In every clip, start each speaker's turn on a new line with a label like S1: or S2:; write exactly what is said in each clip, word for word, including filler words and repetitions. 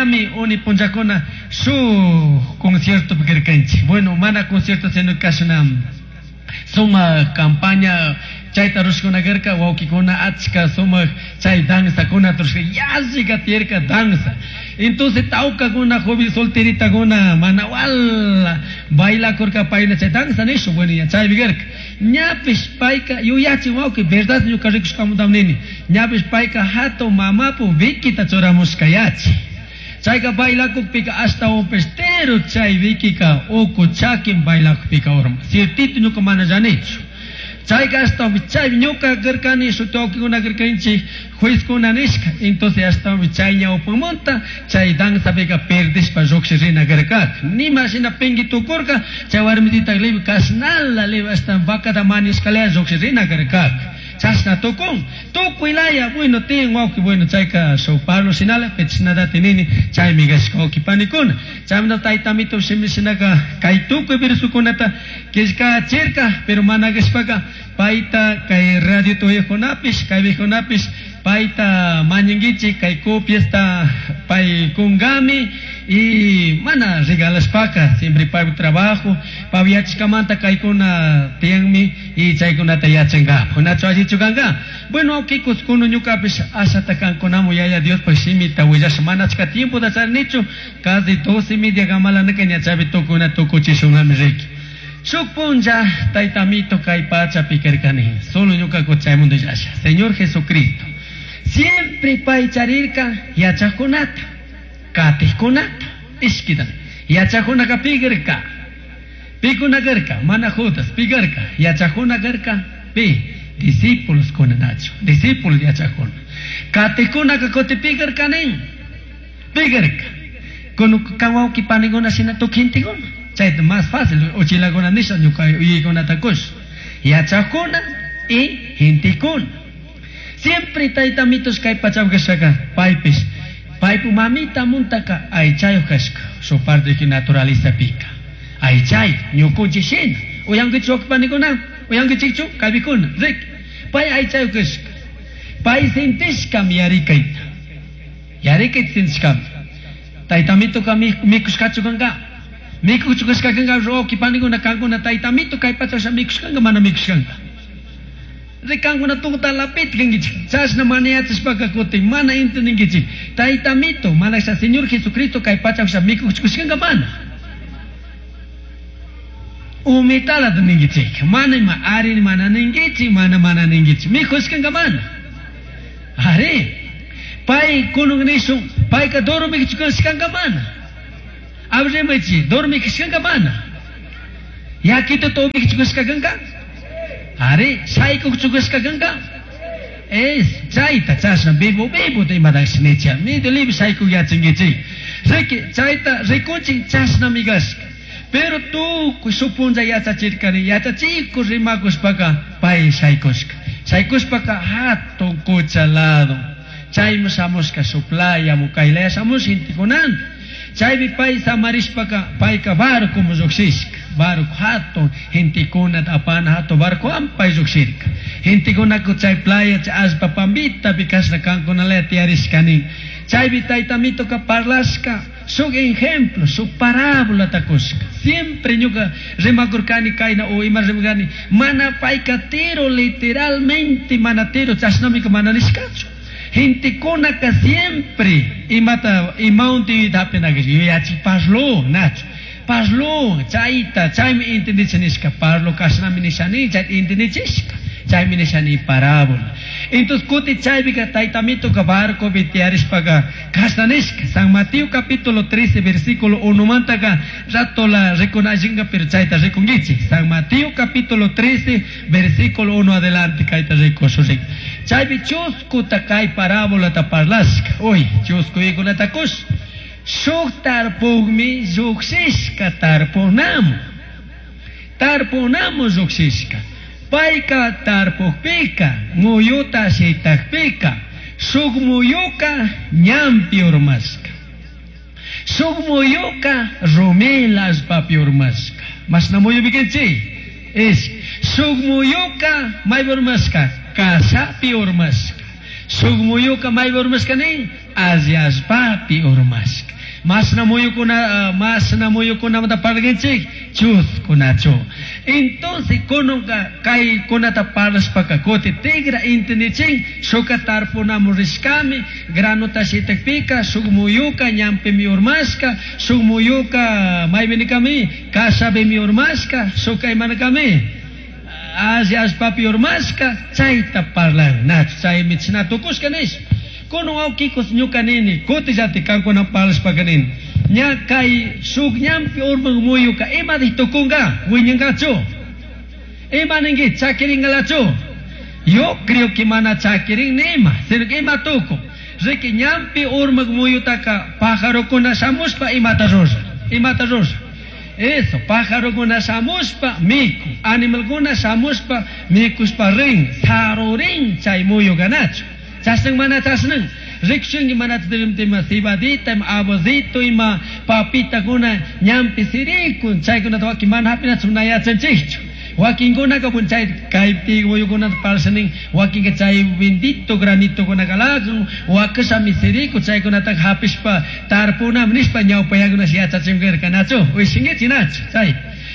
S1: Ñami uni punllakuna shuk conciertopi karkanchik. Bueno, mana concierto sino kashna sumak campaña chayta rushkuna karka, wawkikuna achka sumak chay danzakuna rushka, yallika tiyarka danza. Entonces tawkakuna joven solteritakuna mana wala bailakurka payna chay danza nishu, bueno, ya chaypi karka. Ñapish payka yuyachin wawki, verdad ñuka rikushkamuntam nini. Ñapish payka hatun mamapu vikita churamushka yachi. Chayka bailakukpika ashtawanpish tero chay vikika uku chakin bailakukpika urma. Ciertito ñuka mana llanichu. Chayka ashtawanpish chay ñuka karkani shuti wawkikuna karkanchik juezkuna nishka. Entonces ashtawanpish chay ñawpamunta chay danzapika perdishpa lluqshirina karkaka. Nima shina pingui tukurka chay warmitita libre kashnala libre ashtawan vacata manishkalaya lluqshirina karkaka. Chashna tukun tukuy laya, bueno, tiyan wawki, bueno, chayka shuk parlo shinala pechinadati nini chaymi kashka wawki panikuna. Chaymanta taytamito shimi shinaka kay tukuy versukunata killkachirka, pero mana kashpaka payta kay radio tuyukunapish kay viejunapish payta mañankichik kay copiasta pay kunkami y mana regalashpaka siempre pay trabajo pay yachashkamanta kaykuna tiyanmi y chaykunata yachankapak. Nachu allichu kanka. Bueno, wawkikus kunu ñukapish ashata kankunamu Yaya Diospaj shimita willasha mana achka tiempota charinichu, casi doce y media kamalanaka ña chaypi tukuna tukuchishunami riki. Shuk punlla taytamito kay pachapi karkani, solo ñuka chaymunta llasha. Señor Jesucristo siempre pay charirka yachajkunata, katijkunata, ishkitan. Yachajkunaka pikarka, pikuna karka, mana Judas, pikarka, yachajkuna karka, pi, discípulos kunanachu, discípulos yachajkuna. Katijkunaka kuti pikarka nin, pikarka. Kono kan wawki panikuna shina tukuy gentekuna. Chayta más fácil, uchilakuna nisha ñuka uyaykunata kush. Yachajkuna y gentekuna. Siempre taytamitos kay pachapi kashaka paypish, paypu mamita muntaka aychayuq kashka, su parte que naturaleza pika. Aychay, ñukunchik shina. Uyankichik wawqi panikuna, uyankichikchu kaypikuna, rik. Pay aychayuq kashka. Pay sintishkam yarikayta. Yarikayta sintishkam. Taytamituka mikushkachu kanka. Mikushka kanka wawqi panikuna kankuna taytamito kay pacha mikushkanka mana mikushkanka. Rikankuna tukuta lapit kankichik. Chashna mana yachashpaka kutin mana entendinkichik. Taytamito, mana sha Señor Jesucristo kay pacha mikushkanka mana. Umitala ninkichik. Mana ima ari mana ninkichik, mana mana ninkichik. Mikushkanka mana. Ari. Pay kunun nishun, payka dormikushkanka mana. Abrimachi, dormikushkanka mana. Yakita tomikushkanka. Ari, shaykukushka kanka. Es, chayta chashna vivo vivo te imadash nicha. Mi de libre shayku yachinkichik. Riki, chayta rikunchik chashna migashka. Pero tu supunza yachachirkani, yachachiku rimakushpaka pay shaykushka. Shaykushpaka hatun kucha lado. Chaymi shamushka su playa mukaylaya shamush gentekunanta. Chaypi pay samarishpaka payka barco lluqshishka. Barco hatun gentekunata apana hatun barco pay lluqshirka. Gentekunaka chay playa chay allpa pampitapi kashna kankunalaya tiyarishka nin. Chaypi taytamituka parlashka shuk ejemplo, shuk parábola takushka. Siempre ñuka rimakurkani kayna o ima rimakani, mana payka tiro literalmente mana tiro chashnamika mana nishkachu. Gentekunaka siempre imata imaunti hapinaka yuyachi parlo nachu. Parlo chayta chaymi entendichinishka parlo kashnami nishani chayta entendichishka chaymi nishani parábola. Entonces kuti chaypika taytamituka barcopi tiyarishpaka kashna nishka. San Mateo capítulo trece versículo uno mantaka rato la rikunallinka pero chayta rikunkichik. San Mateo capítulo trece versículo uno adelante kayta rikushun. Chaypi chuskuta kay parábola ta parlashka. Uy, chusku ikunata kush. Shuk tarpukmi lluqshishka tarpunamu. Tarpunamu lluqshishka. Payka tarpukpika, muyuta shitakpika, shuk muyuka ñanpi urmashka. Shuk muyuka rumila allpapi urmashka. Mashna muyu bikinchik? Es shuk muyuka maypi urmashka, kashapi urmashka. Shuk muyuka maypi urmashka nin, alli allpapi urmashka. Mashna muyukuna, mashna muyukunamanta parlanchik, chuskunachu. Entonces kununka kaykunata parlashpaka kuti tigra intendichin shuka tarpunamu rishkami granota shitakpika shuk muyuka ñampimi urmashka, shuk muyuka maypinikami kashapimi urmashka, shuka imanakami alli allpapi urmashka, chayta parlan nachu chaymi china tukushka nish. Kunun wawkikus ñuka nini kutillati kankuna parlashpaka nini ña kay shuk ñampi urman muyuka imatik tukunka wiñankachu, ima ninki chakiringalachu. Yo creo que mana chakirin nima, sino que ima tukun riki ñampi urmak muyutaka pajarokuna shamushpa imata rura, imata rura. Eso, pajarokuna shamushpa miku, animalkuna shamushpa mikushpa rin, sarurin chay muyuka nachu. Chashnan mana chashnan rikushinki mana ima cebadita, ima abozito, ima papitakuna ñampi sirikun, chaykunata wakin mana hapinachu na yachanchikchu. Wakinkunaka bun chay kaypi muyukunata parlashanin, wakinka chay bendito granitokuna kalakun, wakashami siriku chaykunata hapishpa tarpunami nishpa ñawpayakuna yachachinkarka nachu, uyshinkichik nachu chay.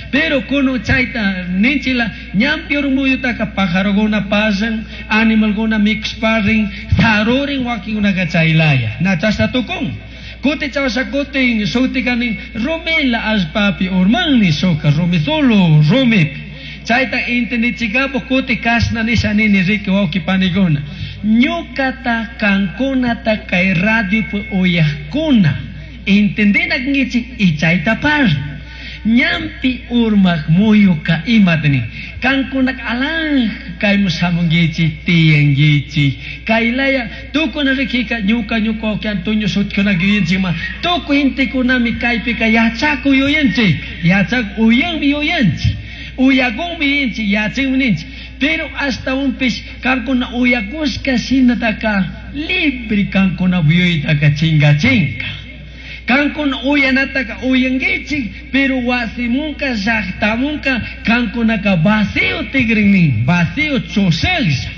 S1: Pero kunu chayta ninchila ñampi urmuyutaka pajarokuna pasan, animalkuna mikushpa rin, sarurin wakinkunaka chaylaya. Na chashna tukun. Kuti chawasha kutin shutika nin rumila allpapi urmanni shuka rumi solo rumipi. Chayta entendichikapo kuti kashna nisha nini riki wawqi panikuna. Ñukata kankunata kay radiopi uyaqkuna entendina kankichik y chayta parla. Ñampi urmak muyuka imata nin. Kankunaka alanja kayman shamunkichik tiyankichik. Kaylaya tukuna rikika ñuka ñuka wawqi Antonio shutikunaka yuyanchikma tukuy gentekunami kaypika yachakuy yuyanchik. Yachakuy uyanmi yuyanchik. Uyakunmi yuyanchik, yachanmi ninchik. Pero ashtawanpish kankuna uyakushka shinataka libre kankuna yuyaytaka chingachinka. Kankuna uyanataka uyankichik, pero wasimunka llaqtamunka kankunaka vacío tigrin nin, vacío chushaqlla.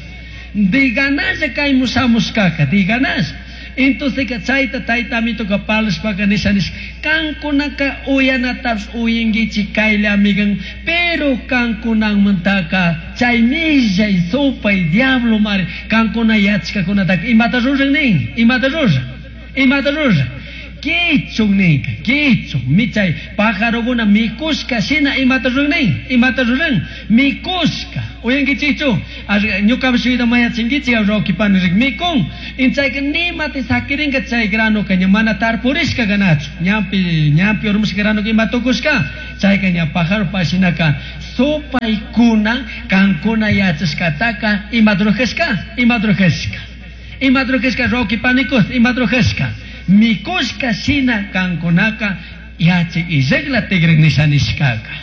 S1: Diganalla kaymu shamushkaka, diganalla. Entonces chayta tayta amituka parlashpaka nisha nish, kankunaka uyanatapish uyankichik kaylla amigan, pero kankunamantaka chay millay supay diablo mari kankuna yachkakunataka imata ruran nin, imata ruran, imata ruran. Kichun ninka, kichun, michay pajarokuna mikushka shina imata ruran nin, imata ruran, mikushka. Uyankichikchu, ñukapish shuyta mayachinkichik, wawqi pani rik mikun. Inchayka nimati sakirinka chay granoka ña mana tarpurishka kanachu. Ñampi, ñampi urmashka granoka ima tukushka, chayka ña pájaro pashinaka supaykuna kankuna yachashkataka imata rurashka, imata rurashka. Imata rurashka wawqi panikus, imata rurashka. Mikushka shina kankunaka yachay illakla tigrin nisha nishkaka.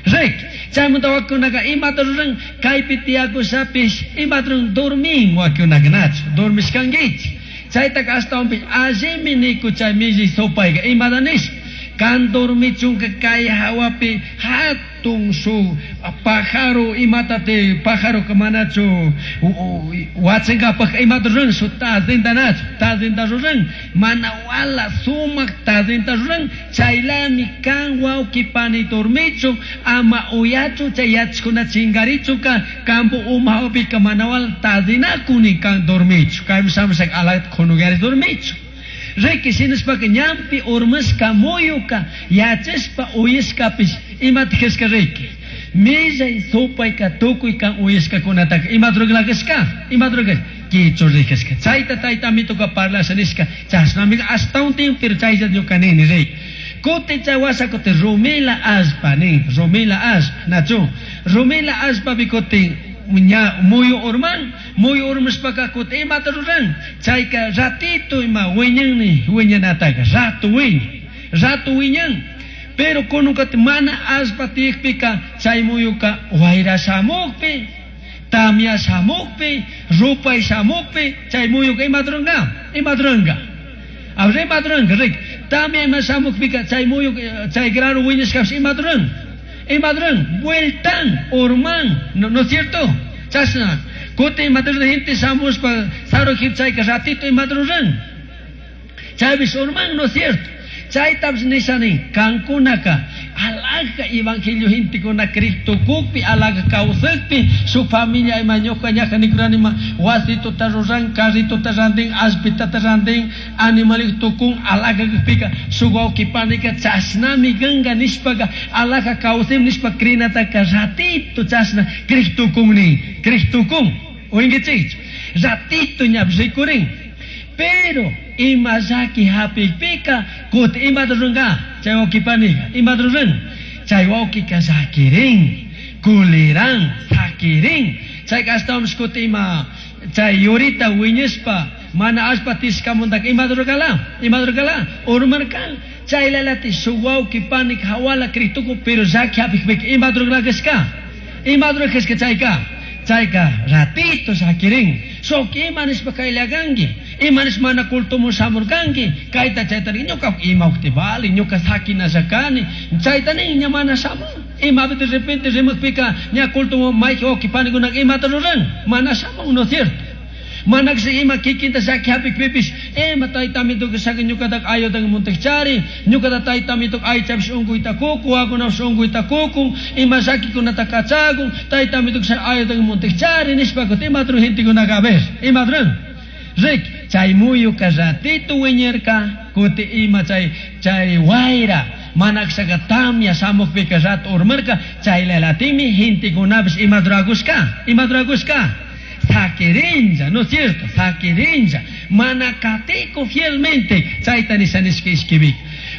S1: Rik, chaymanta wakinkunaka imata ruran kaypi tiyakushapish imata ruran dormin wakinkunaka nachu, dormishkankichik. Chaytaka ashtawanpish allimi niku chay millay supayka imata nish. Kan dormichunka kay hawapi hatun shuk pájaro imatate pájaro manachu wachankapak imata ruran shuk tazinta nachu, tazinta ruran mana wala sumak tazinta ruran chaylami kan wawqi pani dormichu ama uyachu chay yachkuna chingarichuka kampu uma hawapika mana wala tazinakuni kan dormichu kaymi shamushaka alakta kunukari dormichu. Riki shinashpaka ñampi urmashka muyuka yachashpa uyashkapish imata kashka riki. Millay supayka tukuy kan uyashkakunataka imata rurashka, imata rurashka, kichu rikashka. Chayta tayta amituka parlasha nishka, chashnamika ashtawan tiempo pero chaylla ñuka nini riki. Kuti chay washa kuti rumila allpa nin, rumila allpa, nachu. Rumila allpapi kutin ña muyu urman, muyu urmashpaka kuti imata ruran, chayka ratito ima wiñanni, wiñanataka, rato wiña, rato wiñan. Pero kunukati mana allpa tiyakpika chay muyuka wayra shamukpi, tamya shamukpi, rupay shamukpi, chay muyuka imata ruranka, imata ruranka. Abra imata ruranka, rik. Tamya ima shamukpika chay muyuka, chay grano wiñashkapish imata ruran. Imata ruran, vueltan, urman, no, ¿no es cierto? Chashna, kuti imata ruran, gente shamushpa, sarujip chayka ratito imata ruran. Chaypish urman, ¿no es cierto? Chaytapish nishani kankunaka alaja evangelio gentekuna Cristo kukpi alaja kawsakpi shuk familia ima ñuka ñaja nikuranima wasituta ruran carritota rantin allpitata rantin animalik tukun alaja kakpika shuk wawki panika chashnami kanka nishpaka alaja kawsim nishpa crinataka ratito chashna Cristo nin Cristo kun uyankichikchu ratito ñapish rikurin pero ima llaki hapikpika kutin imata ruranka chay wawki panika imata ruran chay wawkika llakirin kuliran sakirin chayka ashtawanpish kutin ima chay yurita wiñashpa mana allpa tishkamantaka imata rurarkala imata rurarkala urmarkan chaylalati shuk wawki panika hawala Cristuku pero llaki hapikpika imata rurarkashka imata rurashka chayka chayka ratito llakirin shuk ima nishpa kayllakanki ima nishpa mana cultomun shamurkanki kayta chayta ñuka ima ukti vale ñuka sakinalla kani chayta nin ña mana shamun imapi de repente rimukpika ña cultomun mayji wawki panikunaka imata ruran mana shamun no es cierto mana ima kikinta llaki hapikpipish ima taytamituka shaki ñukataka ayudan muntikchari ñukata taytamituka aychapish unkuyta kukun wawakunapish unkuyta kukun ima llakikunata kachakun taytamituka shaki ayudan muntikchari nishpa kutin imata ruran gentekunaka a ver imata ruran rik chay muyuka ratito wiñarka kutin ima chay chay wayra mana kashaka tamya shamukpika rato urmarka chaylalatimi gentekunapish imata rurakushka imata rurakushka sakirinlla, ¿no es cierto? Sakirinlla. Mana katiku fielmente. Chayta nisha nishka ishkibik.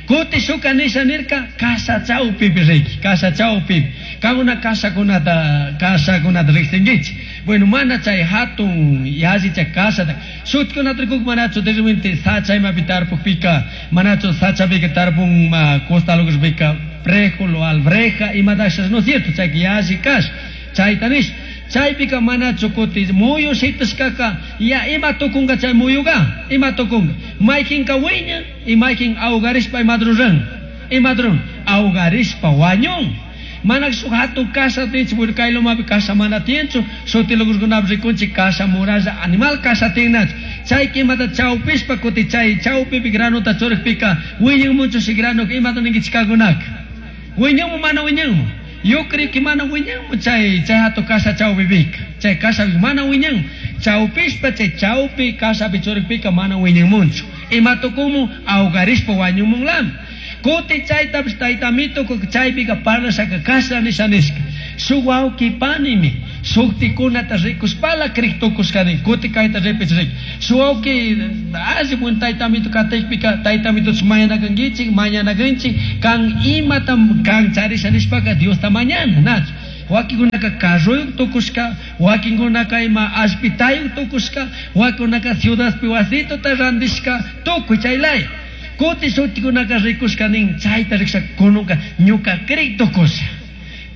S1: Kuti shuka nisha nirka kasha chawpipi riki, kasha chawpipi. Kankuna kashakunata, kashakunata riqsinkichik. Bueno, mana chay hatun yalli chay kashata. Shutkunata rikuk manachu de repente sacha imapi tarpukpika, manachu sachapika tarpun ma costalukpika fréjolo, albreja, imatasha, ¿no es cierto? Chay yalli kash. Chayta nish. Chaypika manachu kuti muyu shitashkaka ya ima tukunka chay muyuka ima tukunka mayjinka wiñan y mayjin awgarishpa imata ruran imata ruran awgarishpa wañun mana shuk hatun kasha tinchik bueno kay lumapi kasha mana tiyanchu shuti lugarkunapi rikunchik kasha muralla animal kasha tinnachu chayka imata chawpishpa kuti chay chawpipi granota churikpika wiñanmunchu shi granoka imata ninkichik kankunaka wiñanmu mana wiñanmu yo creo que mana wiñanmu chay chay hatun kasha chawpipika chay kashapi mana wiñanmu chawpishpa chay chawpi kashapi churikpika mana wiñanmunchu ima tukunmu awgarishpa wañumunlami kuti chaytapish taytamito chaypika parlashaka kasha nisha nishka shuk wawki panimi shuktikunata rikushpala crik tukushkani kuti kayta repich rik shuk wawki alli buen taytamito katikpika taytamitochu mañanakankichik mañanakanchik kan imata kan charisha nishpaka Diosta mañana nachu wakinkunaka carroyuq tukushka wakinkunaka ima allpitayuq tukushka wakinkunaka ciudadpi wasituta randishka tukuy chaylaya kuti shutikunaka rikushka nin chayta rikusha kununka ñuka crik tukusha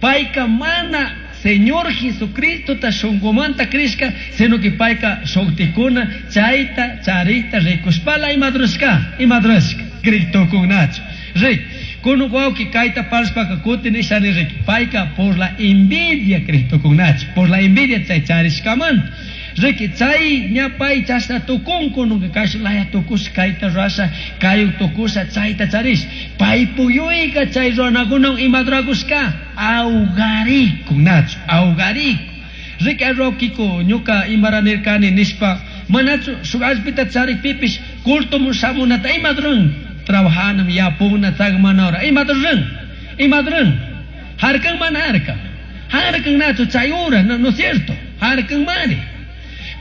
S1: payka mana Señor Jesucristota shunqumanta crishka sino que payka shuktikuna chayta charikta rikushpala imata rurashka imata rurashka crik tukunnachu rik kunun wawki kayta parlashpaka kutin nishani rik payka por la envidia crik tukunnachu por la envidia chay charishkamanta riki chay ña pay chashna tukun kununka kashna laya tukusha kayta rurasha kayuk tukusha chayta charish pay puyuyka chay runakunawan imata rurakushka awgarikun nachu awgarikun riki wawkiku ñuka imara nirkani nishpa manachu shuk allpita charikpipish cultomun shamunata imata ruran trabajanam yapuna tsakmana hora imata ruran imata ruran harkan mana harkan harkan nachu chay hora no, no es cierto harkan mari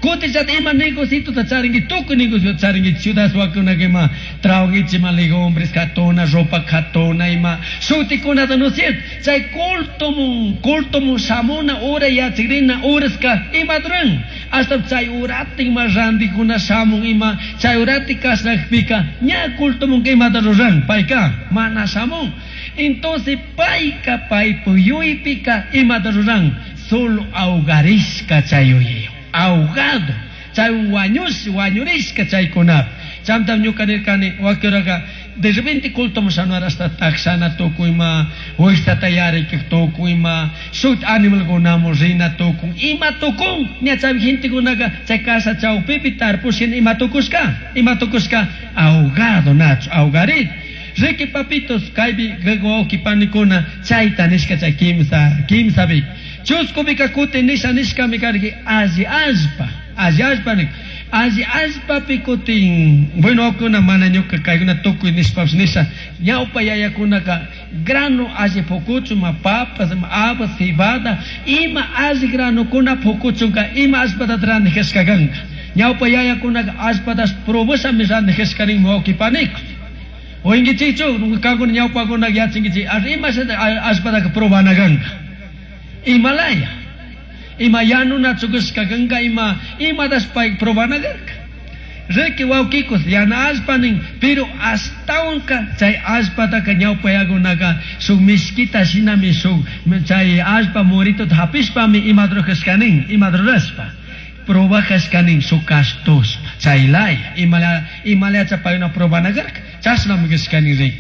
S1: kuti chata ima negocitota charinki tukuy negociota charinki ciudad wakunaka ima trabajankichik ima legumbres katuna ropa katuna ima shutikunata no es cierto chay cultomun cultomun shamuna hora yachakrina horaska imata ruran hasta chay urata ima rantikuna shamun ima chay urati kashnakpika ña cultomunka imata ruran payka mana shamun entonces payka paypuk yuypika imata ruran solo awgarishka chay yuyaywan ahogado chay wañush wañurishka chaykunapi chaymantam ñuka nirkani wakinraka de repente cultomun shanuar hasta takshana tukun ima wiksata yarikak tukun ima shuk animalkunamun rina tukun ima tukun ña chay gentekunaka chay kasha chawpipi tarpush hina ima tukushka ima tukushka ahogado nachu ahogarit Riki papitos kaypi wawqi panikuna chayta nishka chay kimsa kimsapi. Chuskupika kutin nisha nishkami karki alli allpa, alli allpa nik. Alli allpapi kutin, bueno, wawkuna mana ñuka kaykuna tukuy nishpapish nisha, ñawpa yayakunaka grano alli pukuchun, ma papas, ma habas, cebada, ima alli granokuna pukuchunka ima allpata randijashka kanka. Ñawpa yayakunaka allpatash probashami randijashka rin wawqi panikuna. Oinkichikchu, kankuna ñawpakunaka yachankichik, ar ima allpataka probana kanka. Imalaya. Ima yanunachu kashka kanka, ima imatash pay probana karka. Riki wawkikos yana allpa nin, pero ashtawanka chay allpataka ñawpa yakunaka shuk mishkita shinami shuk chay allpa muritota hapishpami imata rurashka nin, imata rurashpa. Probajashka nin shuk kashtushpa chaylaya, imala imalacha paykuna probana karka, chashnami kashka nin riki.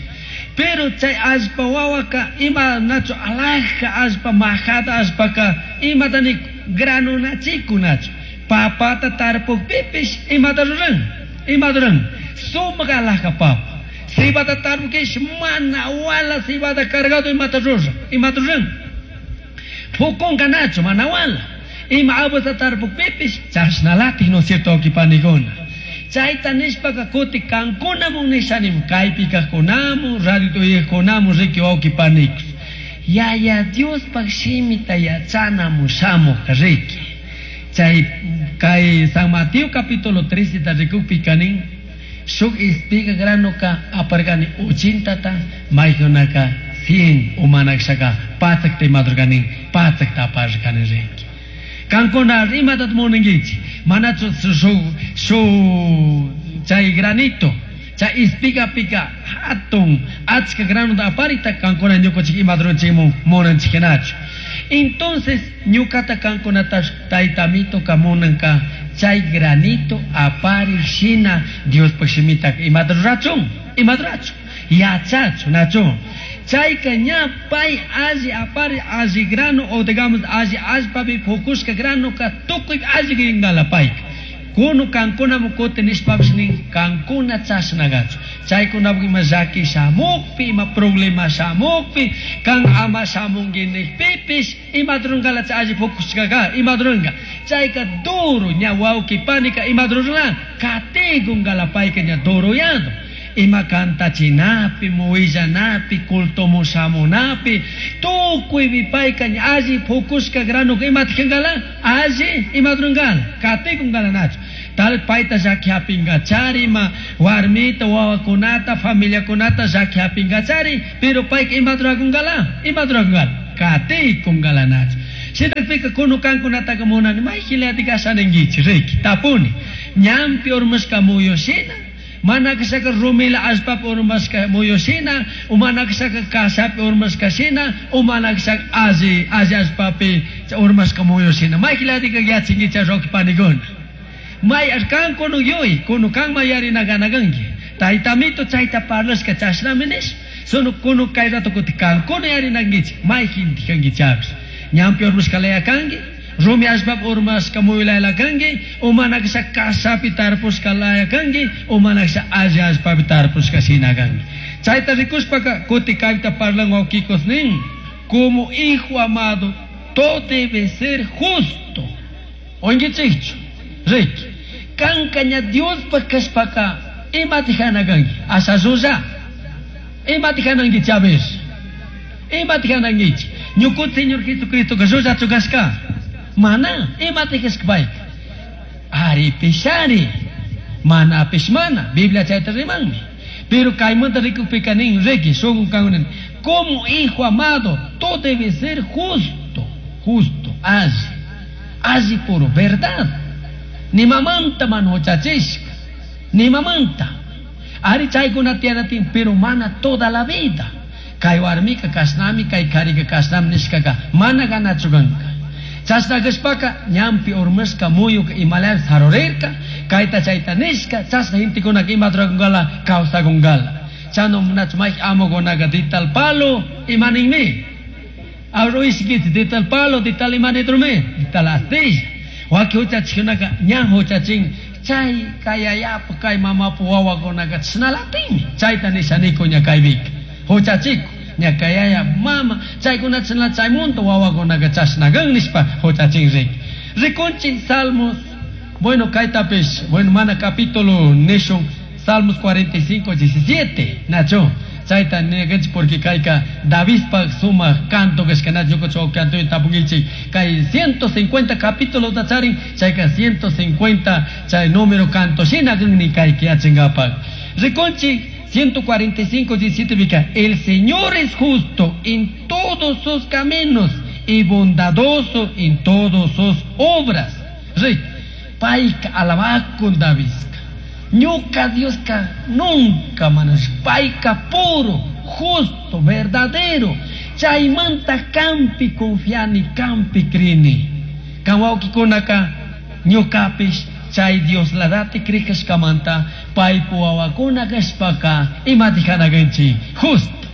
S1: Pero chay allpa wawaka ima nachu alhaja allpa majada allpaka imata ni granunachikunachu. Papata tarpukpipish imata ruran, imata ruran, sumak alhaja papa. Cebada tarpukpish mana wala cebada cargado imata ruran, imata ruran. Pukunka nachu mana wala. Ima abusa tarpukpipish chashnalatik, no cierto, wawqi panikuna. Chayta nishpaka kuti kankunamun nishanim, kaypi kajkunamun, radio uyajkunamun, riki wawqi panikos. Yaya Diospaj shimita yachanamun shamuj riki. Chay kay San Mateo capítulo trece ta rikukpika nin, shuk espiga granoka aparkani ochentata, maykunaka cien umanakshaka patsakta imadurkanin, patsakta aparkani riki. Kankuna imatat munankichik, manachu shuk shuk chay granito, chay espiga pika hatun achka granota aparita kankuna ñukanchik imadurunchikmun munanchiknachu. Entonces ñukata kankunata taytamitoka munanka chay granito apari shina Diospaj shimita imata rurachun, imata rurachun, yachachun, nachun. Chayka ña pay alli apari alli grano o digamos alli allpapi pukushka granoka tukuy alli ringala payka. Kunu kankuna mukuti nishpapish nin kankuna chashnagachu. Chaykunapak ima llaki shamukpi, ima problema shamukpi, kan ama shamunki nikpipish, imata rurangala chay alli pukushkaka, imata ruranga. Chayka duro ña wawqi panika imata rurana, katikunkala payka ña duroyado. Ima kantachinapi, muillanapi, culto shamunapi, tukuypi payka ña alli pukushka grano imata kankala, alli imata rurangala, katikunkala nachu. Tal payta llaki hapingachari, ima warmita, wawakunata, familiakunata llaki hapingachari, pero payka imata rurakunkala, imata rurakunkala, katikunkala nachu. Shinakpika kunu kankunataka munani, mayjilati kashaninkichik, riki, tapuni. Ñampi urmashka muyushina, mana kashaka rumila allpapi urmashka muyushina, o mana kashaka kashapi urmashka shina, o mana kashaka alli, alli allpapi urmashka muyushina. Mayjilati yachinkichik roque panikuna. May kan kunu yuy, kunu kan mayarina ganaganki. Taytamito chayta parlashka chashnami nish. Sunu kunu kay rato kuti kankuna yarinankichik, mayjinti kankichapish. Ñampi urmashka laya kanki, rumi allpapi urmashka muyulayla kanki, o mana kashaka kashapi tarpushka laya kanki, o mana kashaka alli allpapi tarpushka shina kanki. Chayta rikushpaka kuti kayta parlan wawkikos nin, como hijo amado, todo debe ser justo. Oinkichikchu, riki. Kanka ña Diospaj kashpaka imata hana kanki, asha llulla. Imata hanankichik, a ver. Imata hanankichik. Ñukuta Señor Jesucristo ka llullachu kashka. Mana, imata kashka payka. Ari pishari. Mana pish mana, Biblia chayta rimanmi. Pero kaymanta rikukpika nin, riki, shunku kankunan, como hijo amado, todo debe ser justo, justo, alli, alli puro, verdad. Ni mamanta man huchachishka, ni mamanta. Ari chaykuna tiyanatin, pero mana toda la vida. Kay warmika kashnami, kay karika kashnami nishkaka, mana ganachu kanka. Chashna kashpaka, ñampi urmashka muyuka imalaya sarurirka, kayta chayta nishka, chashna gentekunaka ima rurakunkala, kawsakunkala. Chano nachu may amukunaka de tal palo, imaninmi. Arruishkichi de tal palo, de tal imanitrume, de tal astilla. Waki huchachikunaka, ña huchachin, Chay kay yayapu kay mamapu wawakunaqa chashnalatimi. Chayta nishaniku ña kaypika. Huchachiku. Ña kay yaya mama chaykuna chashna chaymunta wawakunaqa chashnakan nishpa huchachin riki. Rikunchik Salmos, bueno kaytapish, bueno mana capítulo nishun Salmos cuarenta y cinco, diecisiete, Nacho. Chayta nikanchik porque kayka Davidpa sumaq canto kashka nacho ñuka canto tapunkichik kay ciento cincuenta capítulos charin chayka ciento cincuenta chay número canto shina ni kay yachankapak. Rikunchik ciento cuarenta y cinco, diecisiete bika, el Señor es justo en todos sus caminos y bondadoso en todas sus obras. Rik, payka alabakun Davidka. Ñuka Dioska nunca manas, payka puro, justo, verdadero. Chaymanta kampi confiani, kampi crini. Kan wawqikunaka ñukapish chay Dios ladati krikashkamanta paypu wawakuna kashpaka imati kanakanchik justo.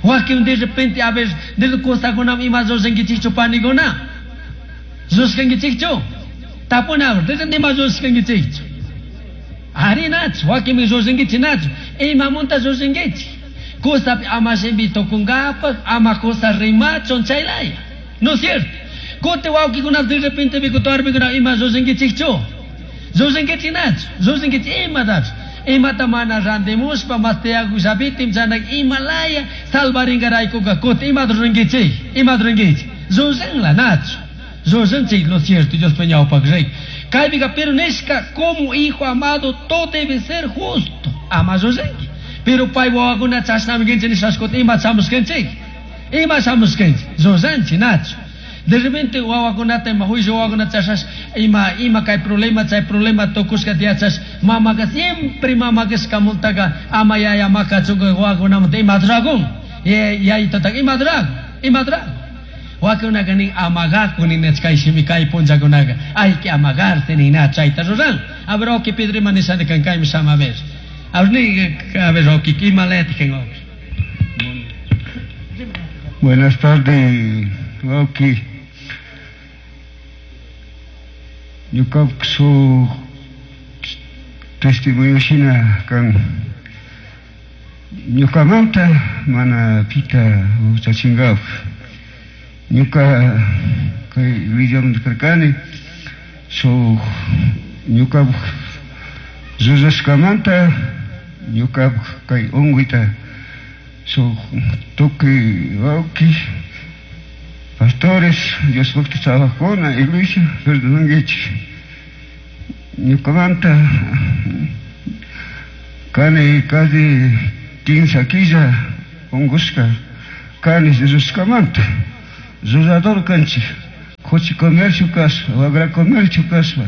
S1: Wakin de repente a ver de cosakuna ima rurankichikchu panikuna. Rushkankichikchu? Tapuna, de repente ima rushkankichikchu? Ari nachu, wakinmi rurankichik nachu. Imamunta rurankichik? Kusapi ama shimpi tukunkapaq, ama kusa rimachun chaylaya. ¿No es cierto? Kuti wawqikuna de repente bikutuarpikuna ima rurankichikchu? Rurankichik nachu, rurankichik imatapish. Imata mana randimushpa mas tiyakushapitim chanak imalaya salvarinkaraykuka kuti imata rurankichik? Imata rurankichik? Ruranla nachu. Ruranchik lo cierto, Dios ñawpaq rey. Kaypika pero nishka como hijo amado todo debe ser justo. Ama ruranki. Pero pay wawakuna chashnami kanchik nishashkuta ima shamushkanchik? Ima shamushkanchik? Ruranchik nachu. De repente wawakunata ima juicio wawakunata chashash ima ima kay problema chay problema tukushka tiyachash mamaka siempre mama kashkamuntaka ama yaya makachunka wawakunamanta ima dragon yayitotaka ima dragon ima dragon wakunaka nin amagaku ninach kay shimi kay punllakunaka hay que amagarse nina chayta ruran. A ver oki Pedro ima nishani kan kaymi shama a ver a ver ni a ver oki ima leti kan oki.
S2: Buenas tardes, oki. Ñuka su testimonio shina kan ñukamanta mana pita huchachinkapak. Ñuka kay willamanta karkani su ñuka rurashkamanta ñuka kay unquyta su tukuy wawqi pastores Diospaqta trabajakuna iglesia perdonankichik. Ñukamanta kani casi quince killa unqushka kani rurashkamanta. Rurador kanchik, kuchi comercio kaspa, wagra comercio kaspa,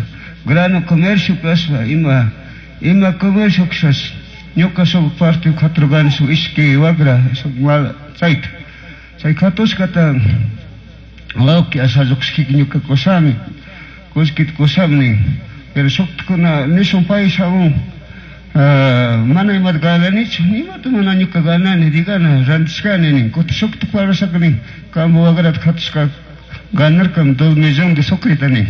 S2: grano comercio kaspa, ima ima comercio kaspa. Ñuka suk parte katrugani suk ishki wagra suk mal chayta. Chay katushkata wawqi ashalluqshkiki ñuka kusami, kullkita kusami. Pero suktakuna nishun pay shamun mana imata gananichu, imata mana ñuka ganani, digana rantishkani nin. Kuti suktak parlashaka nin, kampu wagrata katushka ganarkam dos millón de sucrita nin.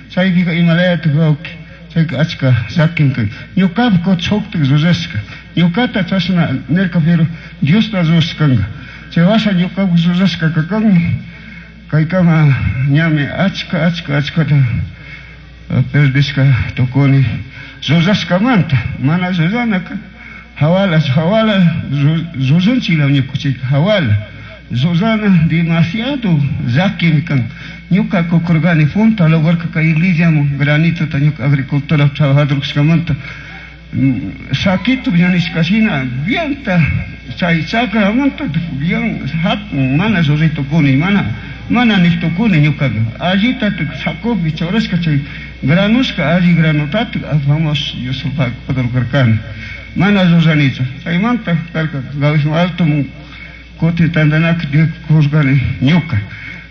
S2: Chaypika imalayata wawqi, chayka achka llakin kan. Ñukapi kuti shuktak rurashka, ñukata chashna nirka pero Diosta rurashkanka. Chay washa ñukapi rurashka kakanmi, kaykama ñami achka achka achkata perdishka tukuni. Rurashkamanta, mana ruranaka, hawala, hawala, ruranchikla ñukuchika, hawala. Rurana demasiado llakimi kan. Ñuka kukurgani punta logarka kay iglesiaman granitota ñuka agricultura trabajador kashkamanta. Saquito nishkashina bienta chay chakramanta bien hatun mana ruray tukuni, mana mana niq tukuni ñukaqa. Allita sacopi churashka chay granushka alli granotata apamos Yusufpak padurkarkani. Mana ruranichu. Chaymanta karka Gavismo alto kutin tantanakuy tiyakkurqani ñuka.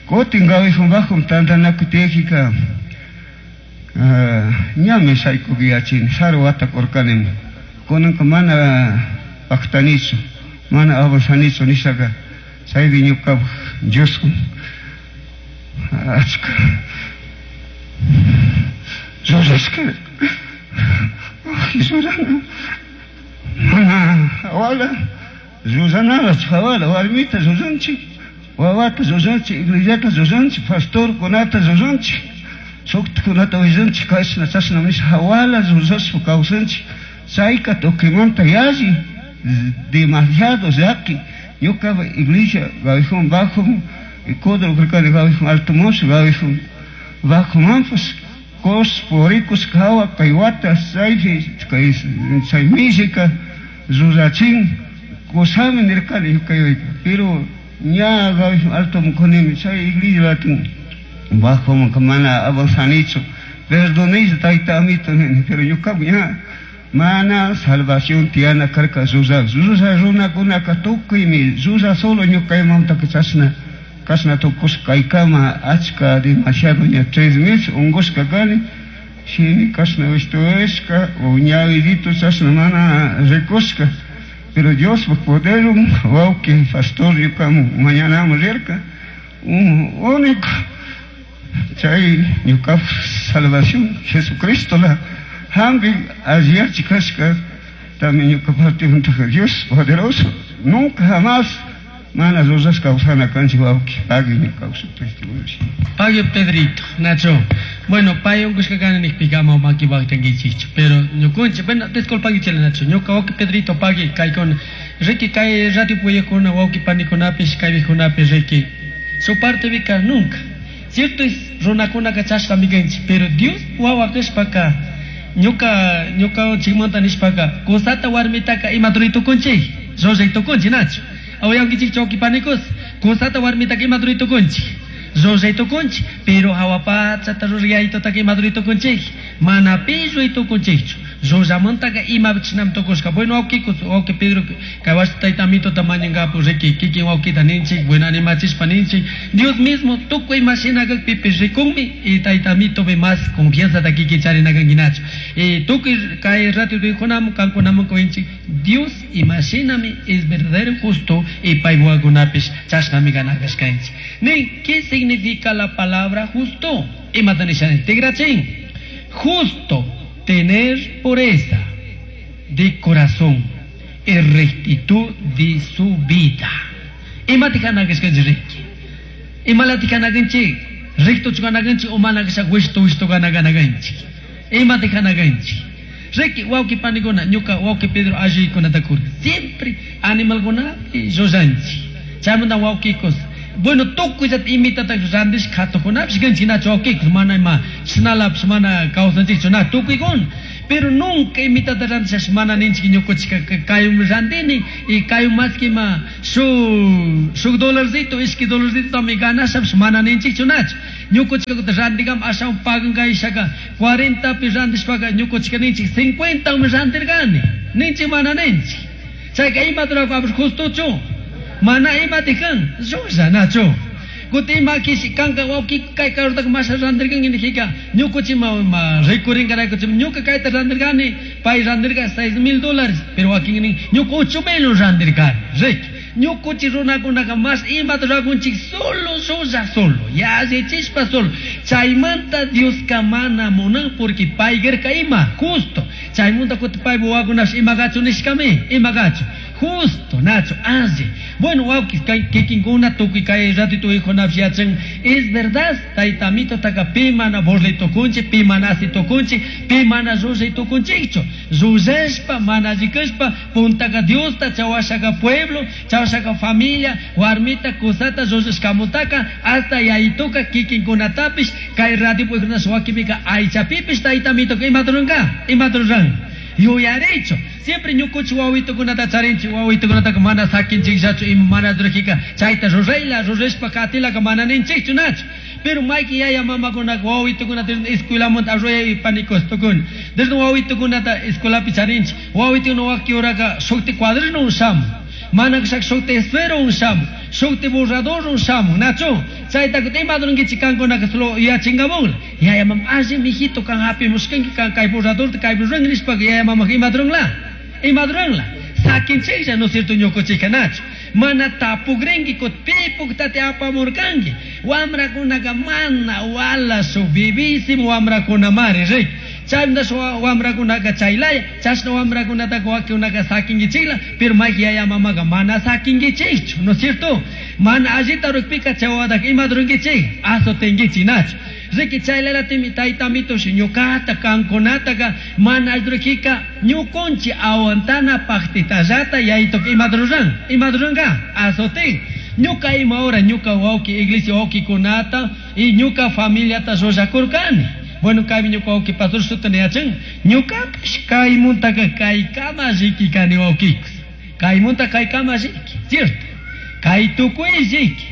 S2: Kutin Gavismo bajo tantanakuy tiyakika ñami shaykupi yachini, saru wata kurkanimi. Kunanka mana paqtanichu, mana avanzanichu nishaka chaypi ñukapak Dioswan achka rurashka. Llullana mana hawala llullanala hawala warmita llullanchik, wawata llullanchik, iglesiata llullanchik, pastorkunata llullanchik, shuktikunata willanchik, kashna chashna nisha hawala llullashpa kawsanchik. Chayka tukuymanta yalli demasiado llaki. Ñuka iglesia Gavijón Bajo Codro karkani Gavijón Alto Mozo Gavijón Bajo manpas cos purikus hawa kay wata chaypi kay chay mishika rurachin kusami nirkani ñuka yuyayka, pero ña Gavijón Alto kunimi chay iglesia latin bajo mana avanzanichu, perdonaychu tayta amito nini, pero ñuka ña mana salvación tiyana karka llulla llulla runakunaka tukuymi llulla solo ñukaymantaka chashna kashna tukushka kaykama achka demasiado ña tres meses ungushka kani, shimi kashna wishtushka o ñawidito chashna mana rikushka, pero Diospaj poderwan wawki pastor ñukaman mañanaman rirka único chay ñukapaj salvación Jesucristo la hampi alliyachi kashka también ñuka partimantaka Dios poderoso nunca jamás mana llullashka kawsana kanchik wawki pagui ñuka testimonio.
S1: Pagui Pedrito, Nacho. Bueno, pay unkushka kani nikpika ama maki waqtankichikchu, pero ñukunchik, bueno, disculpankichik Nacho, ñuka wawki Pedrito pagui kaykuna, riki kay radio puyakuna wawki panikunapish kaypikunapish riki, su parte vika nunca. Cierto es runakunaka chashnami kanchik, pero Dios wawa kashpaka ñuka ñuka chikmanta nishpaka kusata warmitaka ima ruray tukunchik, llullay tukunchik Nacho. Awayankichik wawki panikus, kusata warmitaka ima ruray tukunchik, llullay tukunchik, pero hawa pachata rurayaytutaka ima ruray tukunchik, mana pi ruray tukunchikchu. Llullamantaka ima chinami tukushka. Bueno, wawkikus, wawki Pedro, kay wasi tayta amitota mañankapu riki, kikin wawkita ninchik, bueno, animachishpa ninchik. Dios mismo tukuy ima shina kakpipish rikunmi y tayta amitopi más confianzata kikin charina kanki Nacho. Y tukuy kay rato rikunamun, kankunamun kawinchik, Dios ima shinami es verdadero justo y paywakunapish chashnami ganakashkanchik. Nin, ¿qué significa la palabra justo? Imata nisha tigrachin. Justo, tener pureza de corazón y rectitud de su vida. Imata kanakashkanchik riki? Imalati kanakanchik? Rectochu kanakanchik o mana kasha wishtu wishtu kanakanakanchik? Imata kanakanchik? Riki, wawki panikuna, ñuka wawki Pedro allikunata kurka. Siempre animalkunapi llullanchik. Chaymanta wawkikus, bueno, tukuyllata imitata randish katukunapish kanchik nachu wawkikus, mana ima chinalapish mana kawsanchikchu na tukuykuna. Pero nunca imitata randishash mana ninchik ñukuchika kayum randini y kayum más que ima shuk shuk dolarcito, ishki dolarcito también ganashapish mana ninchikchu nachu. Ñukuchika kutin randigam ashawan pagankaishaka cuarenta pi randishpaka ñukuchika ninchik cincuenta mi randirkani. Ninchik mana ninchik. Chayka imata rurakuapish justochu. Mana imati kan, llulla nachu. Kutin ima kishi kanka wawki kay karutaka masha randirkanki nijika, ñukuchi ma, ma rikurinkaraykuchi, ñuka kayta randirkani, pay randirka seis mil dólares, pero wakin nin, ñuka ocho mil randirkani, riki. Ñukuchi runakunaka mas imata rurakunchik solo llulla solo, yallichishpa solo. Chaymanta Dioska mana munan porque paykarka ima, justo. Chaymanta kutin paypa wawakunapish ima kachu nishkami, ima kachu. Justo, Nacho, alli. Bueno, wawki, kay kikinkuna tukuy kay ratito hijunapish yachan, es verdad, tayta amitotaka pi mana burlay tukunchik, pi mana asi tukunchik, pi mana llullay tukunchikchu. Llullashpa, mana alli kashpa, puntaka Diosta, chawashaka pueblo, chawashaka familia, warmita, kusata, llullashkamutaka, hasta yayituka kikinkunatapish, kay ratito hijunapish wakipika aychapipish tayta amitoka imata ruranka, imata ruran. Yuyarichu. Siempre ñukuchi wawitukunata charinchik, wawitukunataka mana sakinchikllachu, ima mana rurajika, chayta rurayla, rurashpa katilaka mana ninchikchu nachu. Pero mayki yaya mamakunaka wawitukunata escuelamanta arroyay panikos tukun. Desde wawitukunata escuelapi charinchik, wawitukuna waki uraka shukti cuaderno ushamun, mana kashaka shukti esfero ushamun, shukti borrador ushamun, nachu. Chayta kutin ima rurankichik kankunaka solo yachinkamukla. Yaya mama, alli mijito kan hapimushkanki, kan kay borradorta kaypi ruranki nishpaka yaya mamaka ima ruranla, ima ruranla. Sakinchiklla, no es cierto, ñukuchika nachu. Mana tapukrinki, kut pipuktate apamurkanki. Wamrakunaka mana wala su vivísimo wamrakunamari, riki. Chaymantash wamrakunaka chaylaya chashna wamrakunataka wakinkunaka sakinkichikla, pero mayki yaya mamaka mana sakinkichikchu, ¿no es cierto? Mana allita rukpika chay wawataka imata rurankichik? Azotenkichik nachu. Riki chaylalatimi taytamitush ñuqata kankunataka mana alli rukika ñukunchik aguantana paktitallata yayituka imata ruran? Imata ruranka? Azotin. Ñuka ima hora ñuka wawki iglesia wawkikunata y ñuka familiata llullakurkani. Bueno, kaymi ñuka wawki pastor sutini yachan. Ñukapish kaymuntaka kaykama riki kani wawkikus. Kaymunta kaykama riki, cierto? Kay tukuy riki.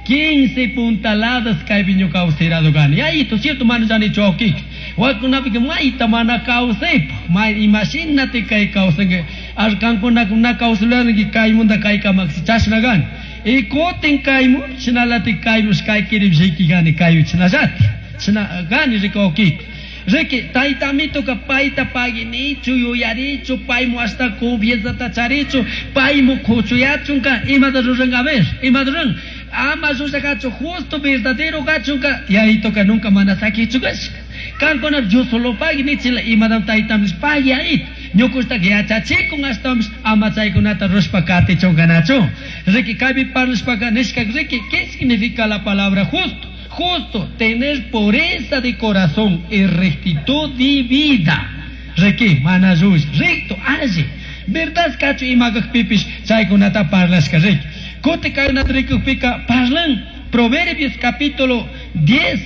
S1: quince puntaladas kaypi ñuka kawsirado kani. Yayito, cierto, mana llanichu wawkikus. Wakunapika mayta mana kawsaypa. May imashinati kay kawsanki. Arkankunaka na kawsulanki kaymunta kaykamaka chashna kani. Y kutin kaymu chinalati kaymush kay kirip riki kani kayu chinallati. China kani riki wawkikus. Riki taytamituka payta paginichu yuyarichu paymu hasta confianzata charichu paymu kuchuyachunka imata ruranka a ver imata ruran ama llullakachu justo verdadero kachunka yayituka nunca mana sakichu kashka. Kankuna yo solo pagui nichila imatam taytamis pagui ayit. Ñukushtaka yachachikun ashtawanpish ama chaykunata rushpa katichunkanachu. Riki kaypi parlashpaka nishka riki ¿qué significa la palabra justo? Justo, tener pureza de corazón y rectitud de vida. Riki, mana llull, recto, alli. Verdad kachu imakakpipish chaykunata parlashka riki. Kuti kaykunata rikukpika parlan Proverbios capítulo diez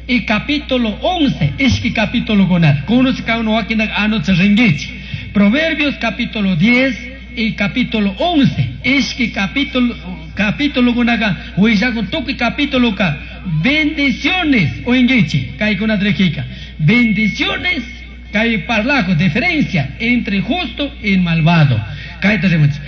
S1: y capítulo once, ishki capítulo kunata. Kunush kawnu wakinaka anoch rinkichik. Proverbios capítulo diez y capítulo once, ishki capítulo, capítulo kunaka willakun tukuy capítulo ka bendiciones oinkichik kaykunata rikika. Bendiciones kay parlako diferencia entre justo y malvado. Kayta rimanchik.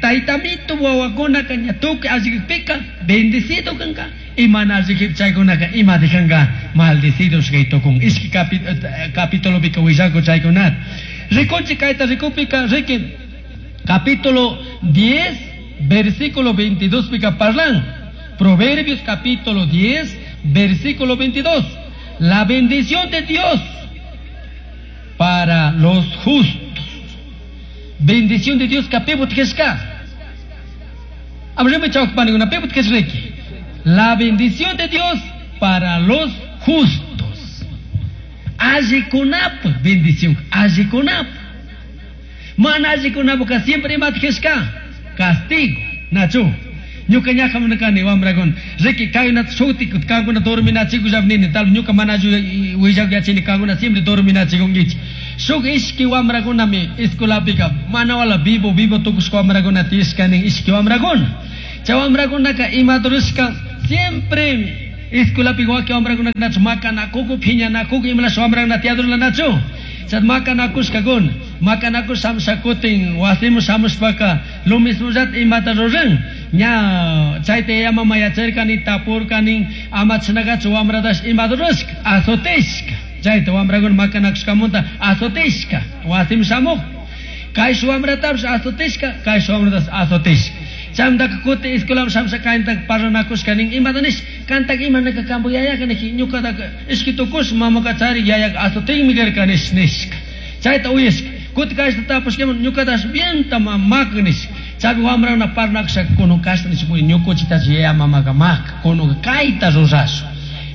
S1: Taytamito wawakunaka ña tukuy allikpika bendecido kanka y mana allikpi chaykunaka ima dejanka maldecidos kay tukun. Ishki capi-, capítulo pika willako chaykunata. Rikunchik kayta rikupika riki capítulo diez versículo veintidós pika parlan. Proverbios capítulo diez versículo veintidós. La bendición de Dios para los justos. Bendición de Dios kapibut keshka. Abrime chawk paniguna pibut keshriki. La bendición de Dios para los justos. Allikunap bendición, allikunap. Mana allikunap ka siempre imat keshka. Castigo, nachu. Ñuka ñaja munakani wamrakuna. Riki kaynata shuti kankuna dorminachikusha nini, tal ñuka mana willak yachini kankuna siempre dorminachikunkichik. Shuk ishki wamrakunami escuelapika mana wala vivo vivo tukushka wamrakuna tiyashkani ishki wamrakuna. Chay wamrakunaka imaturushka siempre escuelapika wakin wamrakunaka nachu makanakuku phiñanakuku imalash wamrakuna tiyadurla nachu. Chay makanakushkakuna makanakush shamushakutin wasimu shamushpaka lo mismo llata imata ruran. Ña chayta yaya mama yacharkani tapurkani ama chinakachu wamratash imata rurashka azotishka. Chayta wamrakuna makanakushkamunta azotishka wasimu shamuq. Kay wamratapish azotishka kay wamratash azotishka. Chaymantaka kuti escuelaman shamusha kayntaka parlanakushka nin imata nish kantaka imanaka kampu yayaka niki ñukataka ishki tukush mamaka charik yayaka azotinmi karka nish nishka. Chayta uyashka kuti kayta tapushkaman ñukatash bienta maka nishka. Chaypi wamrakuna parlanakusha kunun kashta nish ñukuchitash yaya mamaka maka kununka kayta rurashun.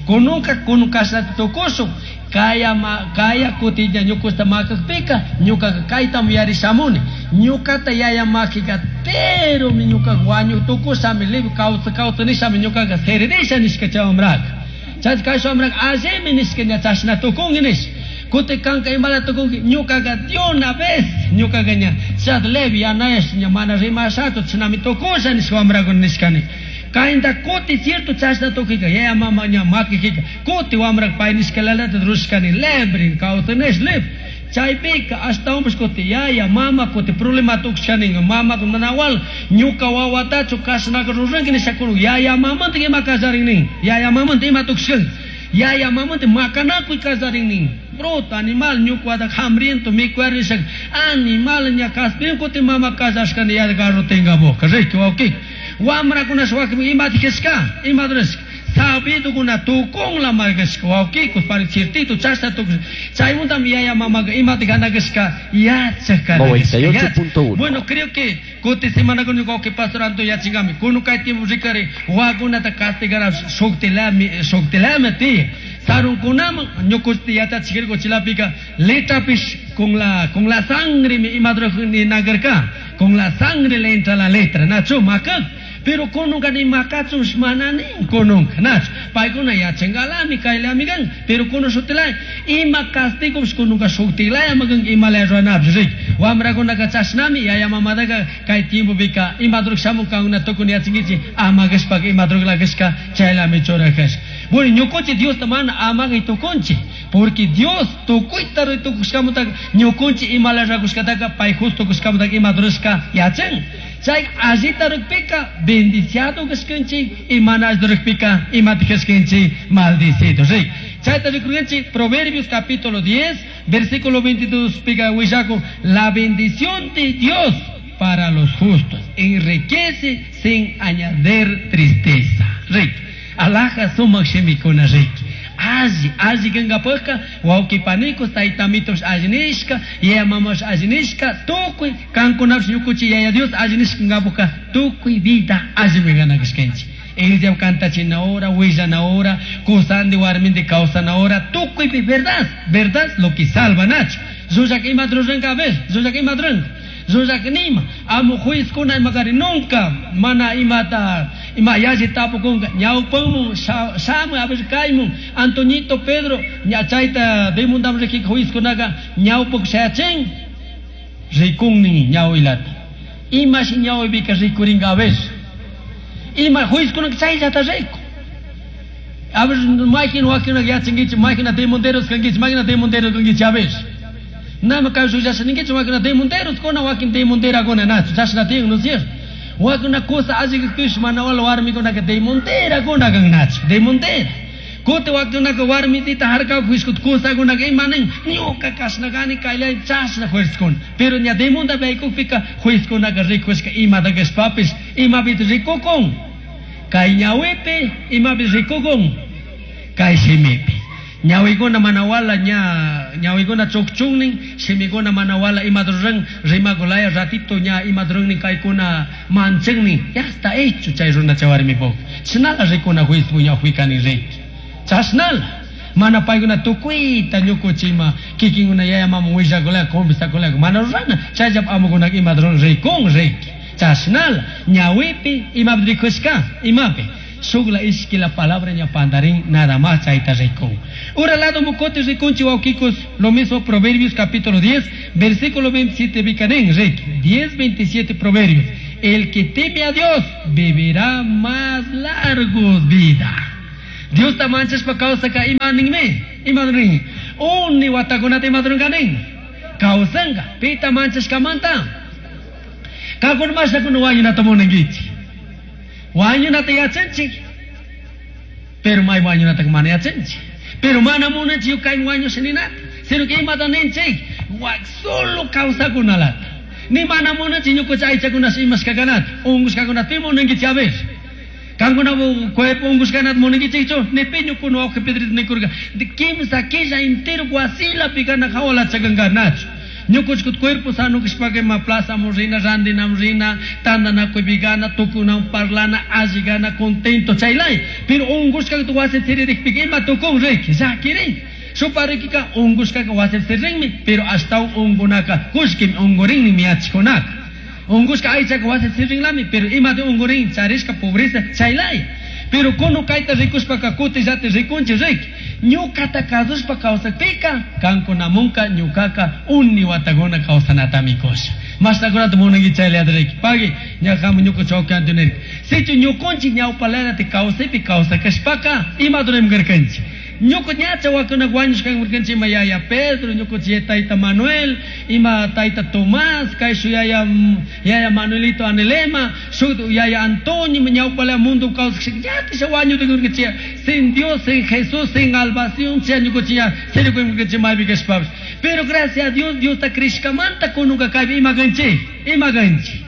S1: Kununka kunun kashtata tukushun. Kaya ma, kaya kutilla ñukusta makakpika ñukaka kaytam yarishamuni. Ñukata yaya makika pero mi ñukaka wañu tukushami libre kawsa kawsa nishami ñukaka seririsha nishka chay wamraka. Chay kay wamraka allimi nishka ña chashna tukunki nish. Kuti kanka imala tukunki ñukaka de una vez ñukaka ña chat levi yanayash ña mana rimashachu chinami tukusha nishka wamrakuna nishkani. Kainta kuti cierto chashna tukika yaya mama ña makikika kuti wamrak pay nishka lalata rushkani lebri kawsa nish libre. Chaypika ashtawanpish kuti yaya mama kuti problema tukushkani mama manawal ñuka wawatachu kashnaka ruranki nisha kunu yaya mamanta ima kallarin nin yaya mamanta ima tukushkan yaya mamanta makanakuy kallarin nin bruto animal ñuka hambriento mikuar nisha animal ña kaspin kuti mama kallashkani yaya garro tenga boca riki wawki wamrakunash wakin imata kishka imata rishka Sabidukuna tukunla markashka wawkikus pari ciertito chashna tukush chaymuntami yaya mamaga imata ganakashka yachak kana
S3: noventa y ocho punto uno.
S1: Bueno, creo que kuti semana con wawki pastor Anto yachingami kunu kay tiempo rikari wakunata castigara shuktilami shuktilami ti sarunkunaman ñukuchti yachachikirku chilapika letrapish con la con la sangre mi imadro ni nagarka con la sangre le entra la letra nacho makak pero kununka ni makachun manani kununka nacho paykuna yachangalami kaylami kan pero kunu shutilay ima castigo kununka shutilay magan imala ruanapish rik wamrakunaka chashnami yaya mamadaga kay tiempo pika imadruk shamun kankuna tukun yachankichik amagashpaka imadruklakashka chaylami churakash. Bueno, ñukunchik Diosta mana amagay tukunchik porque Dios tukuyta rutukushkamutaka ñukunchik imala rakushkataka pay justo kushkamutaka imadrushka yachan. Chay allita rukpika bendiciado kashkanchik y mana allita rukpika imata kashkanchik maldicido. Rik. Chayta rikurkanchik Proverbios capítulo diez versículo veintidós pika willaku la bendición de Dios para los justos enriquece sin añadir tristeza. Rik. Alaja sumak shimikuna rik. Alli, alli kankapakka wawqi panikus taytamitos alli nishka, yaya mamash alli nishka, tukuy kankunapish ñukuchik yaya Dios alli nishka kankapakka tukuy vida allimi ganakashkanchik. Iglesia kantachina hora, willana hora, kusandi warmindi kawsana hora, tukuypi verdad, verdad lo que salva nacho. Llullak ima ruranka a ver, llullak ima ruranka. Llullak nima, amo juizkuna imakari nunca mana imata ima yalli tapukunka ñawpanmun shamu a ver kaymun Antoñito Pedro ña chayta demundam rikika juizkunaka ñawpak shayachin rikunnin ñawilata imashi ñawipika rikurinka a ver ima juizkunaka chayllata riku a ver maykin wakinaka yachankichik maykina demonderos kankichik maykina demonderos kankichik a ver Nama kay shullasha ninkichik wakina demonderos kuna wakin demonderakuna nachu chashna tiyan, ¿no es cierto? Wakina kusa alli kakpish mana wala warmikunaka demonderakuna kan nachu demondera kuti wakinaka warmitita harkawak juishkut kusakunaka ima nin ñuka kashna kani kaylay chashna juezkuna pero ña demondapi aykukpika juezkunaka rikushka imata kashpapish imapita rikukun kay ñawipi imapi rikukun kay shimipi ñawikuna mana wala ña ñawikuna chukchunnin shimikuna mana wala imata ruran rimakulaya ratito ña imata rurannin kaykuna manchannin ya está hecho chay runa chay warmipuk chashnala rikuna juizpu ñawpikani riki chashnala mana paykuna tukuyta ñukuchima kikinkuna yaya mama willakulaya conversakulaya mana rurana chayllapa amukunaka imata ruran rikun riki chashnala ñawipi imapi rikushka imapi Shukla ishki la palabra ña pandarín nada más chayta rikun. Ura lado mukote rikunchi wawkikus, lo mismo Proverbios capítulo diez, versículo veintisiete bikanen, rik, diez veintisiete Proverbios. El que teme a Dios vivirá más largo vida. Dios ta manchashpa kawsaka ima ninmi, ima nin. Uni watakunata ima runkanin. Kawsanka, pita manchashkamanta. Kakun mashakuna wañunata munankichik. Wañunata yachanchik, pero may wañunata mana yachanchik. Pero mana munanchik kay wañusha ninata, sino que imata ninchik, solo kawsakunalata. Ni mana munanchik ñukucha aychakunash imashkakanata, unqushkakunata pi munankichik a ver. Kankuna cuerpo unqushkanata munankichikchu, ni pi ñukuna wawqi Pedrito nikurka, de kimsa killa entero wasilapi kana hawalachakankarnachu. Ñukuchkut cuerpo sano kashpaka ima plazamun rina, randinamun rina, tandanakuypi gana, tukunawan parlana, alli gana, contento chaylay. Pero unqushkakta wasi siririkpika ima tukun riki, llakirin. Shuparikika unqushkaka wasi sirinmi, pero ashtawan unkunaka kushkimi unkurinmi yachkunaka. Unqushka aychaka wasi sirinlami, pero imata unkurin charishka pobreza chaylay. Pero kunu kayta rikushpaka kutillata rikunchik riki. Ñukata kasushpa kawsakpika kankunamunka ñukaka uni watakuna kawsanatami kusha. Mashtakunata munanki chayllata riki. Pagui ñakamu ñuka chawki antonirka. Sichu ñukunchik ñawpalanata kawsaypi kawsakashpaka imata ruramkarkanchik. Ñuka ñacha wakuna wañushkankurkanchik ima yaya Pedro, ñukunchik tayta Manuel, ima tayta Tomás, kayshu yaya, yaya Manuelito Anelema, shuk yaya Antonio, ñawpala mundo kawsakshik, yatisha wañutukurkanchik sin Dios, sin Jesús, sin salvación, chay ñukunchik ya sirikuymurkanchik maypi kashpapish. Pero gracias a Dios, Dios ta krishkamanta kunuka kaypi ima kanchik, ima kanchik.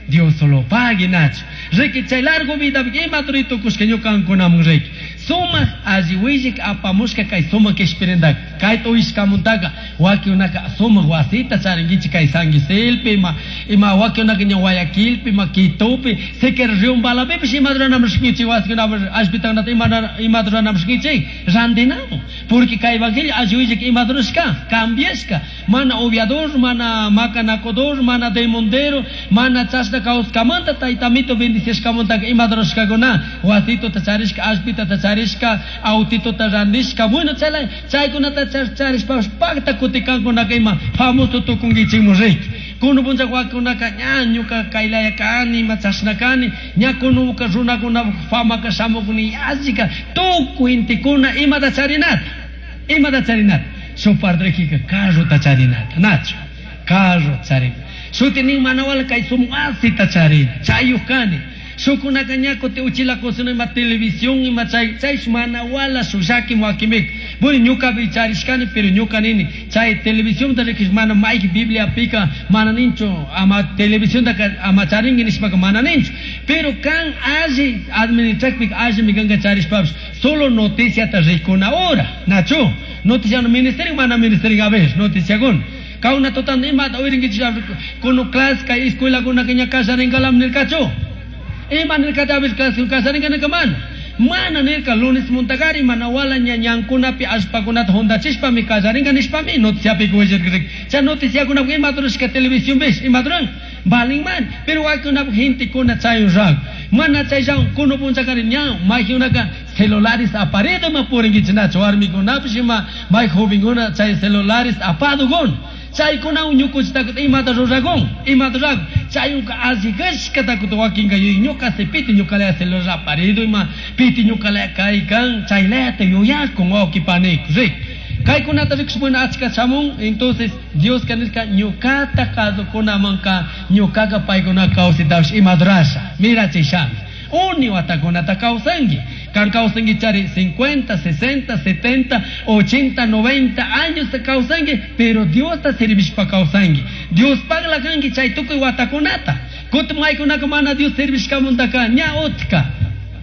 S1: Dios solo pague nacho. Riki chay largo vida ima turito kushka ñukankunamun riki. Sumak alli willik apamushka kay sumak kishpirindak. Kayta uyashkamuntaka wakinkunaka sumak wasita charinkichik kay San Quisilpi, ima ima wakinkunaka ña Guayaquilpi, ima Quitopi, siquiera Riumbalapipish ima ruranamishkinchik wasikunapish allpitakunata ima ima ruranamishkinchik randinamun. Porque kay evangelio alli willik ima rurashka, cambiashka, mana uviador, mana macanacodor, mana demondero, mana chashna kawskamanta taytamito bendiciashkamantaka ima rurashkakuna wasituta charishka, allpitata charishka, autituta randishka, bueno, chay chaykunata charishpapish pakta kutikankunaka ima famoso tukunkichikmun riki. Kunu puncha wakunaka ña ñuka kaylaya kani, ima chashna kani, ña kunuka runakuna famaka shamukuni yallika tukuy intikuna imata charinata, imata charinata. Shuk partrekika carrota charinata, nachu, carro charina. Shuti nin manawala kay sumak wasita charina, chayuk kani. Shukunaka ña kuti uchila kusuna ima televisión ima chay, chay manawala shushaki wakimik. Bueno, ñukapi charishkani, pero ñuka nini, chay televisión ta rikish mana mayki Biblia pika mana ninchu, ama televisión ta ama charinki nishpaka mana ninchu. Pero kan alli administrakpika alli mikanka charishpapish, solo noticia ta rikuna hora, nachu. Noticia no ministerio, mana ministerio a ver, noticia kun. Kauna totan imata uyirinkichik kunu clase kay escuela kunaka ña kallarinkalam nirkachu. Ima nirkata a ver clase kallarinka nirka mana. Mana nirka lunes muntagari mana wala ña ñankunapi allpakunata juntachishpami kallarinka nishpami noticiapi willarkrik. Chay noticiakunapi ima rurashka televisión bish, ima ruran? Valin man, pero wakunapi gentekuna chay rag. Mana chay llawan kunu punchakari ña mayjunaka celulares aparedo ma purinkichik nachu warmikunapish ima may jovenkuna chay celulares apadukun. Chaykunawan ñukunchitaka imata rurakun, imata rurakun. Chayunka alli kashkata kutin wakinka yuyin ñuka si piti ñukalaya celular aparido ima piti ñukalaya kaykan chaylayata yuyakun wawqi paniku rik. Kaykunata rikush bueno achka shamun, entonces Dioska nirka ñukata kasukunamanka ñukaka paykuna kawsaytapish ima rurasha, mirachishami. Uni watakunata kawsanki. Kan kawsanki chari cincuenta, sesenta, setenta, ochenta, noventa años te kawsanki, pero Dios ta servishpa kawsanki. Dios pagla kanki chay tukuy watakunata. Kutin maykunaka mana Dios servishkamuntaka ña utka.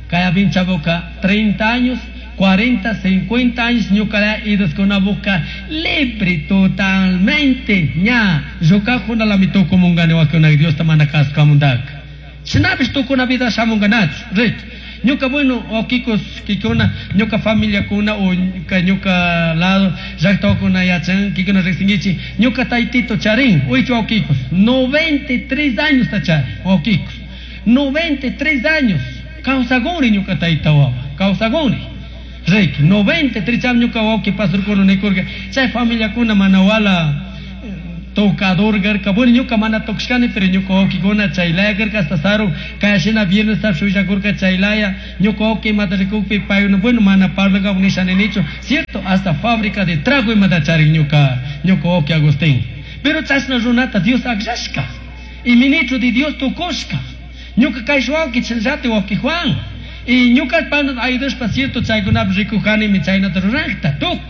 S1: Kaya pinchabuka treinta años, cuarenta, cincuenta años ñuka idoskunabuka libre totalmente ña llukakuna lami tukumungani wakuna Dios ta mana kasukamuntaka. Shinapish tukuna vida shamunkanachu, rik. Ñuka bueno, wawkikos kikuna, ñuka familiakuna o ñuka, ñuka lado, llaqtawakuna yachan, kikuna riqsinkichik, ñuka taytito charin, uychu wawkikos, noventa y tres años ta charin, wawkikos, noventa y tres años, kawsakuni ñuka tayta wawa, kawsakuni. Rik, noventa y tres cham ñuka wawki pasurkuna nikurka, chay familiakuna mana wala tocador garka, bueno, ñuka mana tocashkani, pero ñuka wawkikuna chaylaya garka, hasta saru, kayashina viernes ta shullakurka chaylaya, ñuka wawki imata rikukpi paykuna, bueno, mana parlaka nisha ninichu, cierto, hasta fábrica de trago imata charin ñuka, ñuka wawki Agustín. Pero chashna runata Dios akllashka, y ministro de Dios tukushka, ñuka kay wawki chayllati wawki Juan, y ñuka pana ayudashpa cierto chaykunapi rikujanimi chaynata rurakta, tuk.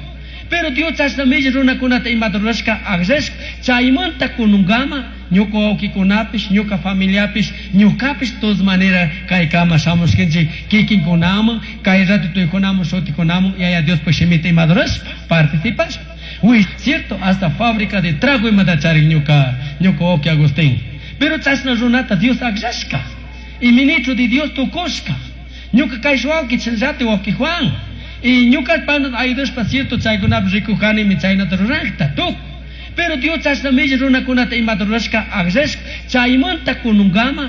S1: Pero Dios chashna milli runakunata imata rurashka akllashka, chaymanta kununkama ñuka wawkikunapish, ñuka familiapish, ñukapish todas manera kaykama shamushkanchik kikinkunaman, kay rato tuykunaman, shutikunaman, yaya Diospaj shimita imata rurashpa, participashpa. Uy, cierto, hasta fábrica de trago imata charin ñuka, ñuka wawki Agustín. Pero chashna runata Dios akllashka, y ministro de Dios tukushka, ñuka kay wawki chayllati wawki Juan, y ñuka pana ayudashpa cierto chaykunapi rikujanimi chaynata rurakta, tuk. Pero Dios chashna milli runakunata imata rurashka akllashka, chaymanta kununkama